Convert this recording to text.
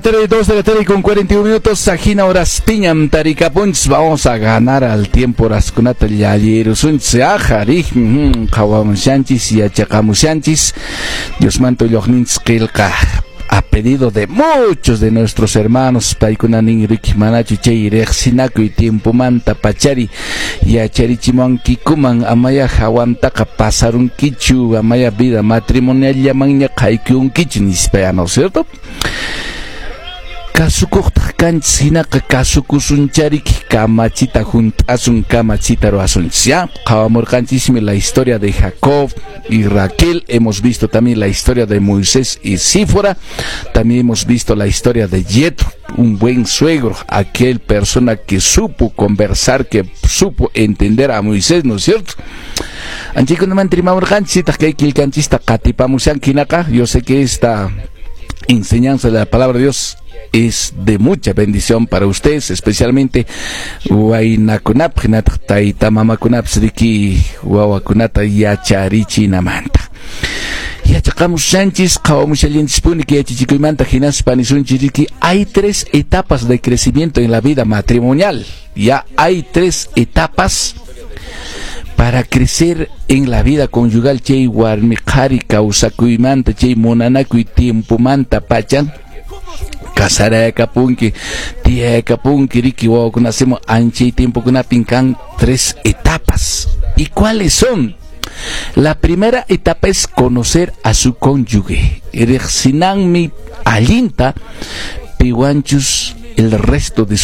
3, 2 de la tarde con 41 minutos, Sajina horaspiñam tarikapunchis, vamos a ganar al tiempo horaskunata llallirusunchis, ajarij, qhawamushanchis, yachaqamushanchis, Diosmanta willaqninchis qillqa, a pedido de muchos de nuestros hermanos, paykuna nin riki manachu chay riqsinakuy tiempomanta pachari yacharichimuwankikuman, amaya hawantaqa pasarunkichu, amaya vida matrimonial haykunkichu nispa, ¿no es cierto? Kasukuqtaq kanchis hinaqa kasukusunchariki kamachita hunt'asun kamachita ruwasunchis, ya qhawamurqanchismi la historia de Jacob y Raquel, hemos visto también la historia de Moisés y Sífora, también hemos visto la historia de Jetro, un buen suegro, aquel persona que supo conversar, que supo entender a Moisés, ¿no es cierto? Anchaykunamanta rimamurqanchis, kay qillqanchista qatipamushanki hinaqa, yo sé que esta enseñanza de la palabra de Dios es de mucha bendición para ustedes, especialmente waynakunapaq hinataq tayta mamakunapas riki wawakunata yacharichinamanta. Yachaqamushanchis, qhawamushallanchispuni kay yachachikuymanta hinaspa nisunchis riki hay tres etapas de crecimiento en la vida matrimonial. Ya hay tres etapas para crecer en la vida conyugal chay warmi qhari kawsakuymanta chay munanakuy tiempomanta pacha kasarayakapunki tiyayakapunki riki wawakuna hacemos anchay tiempokunapin kan tres etapas. ¿Y cuáles son? La primera etapa es conocer a su cónyuge. Riqsinanmi allinta piwanchus el resto de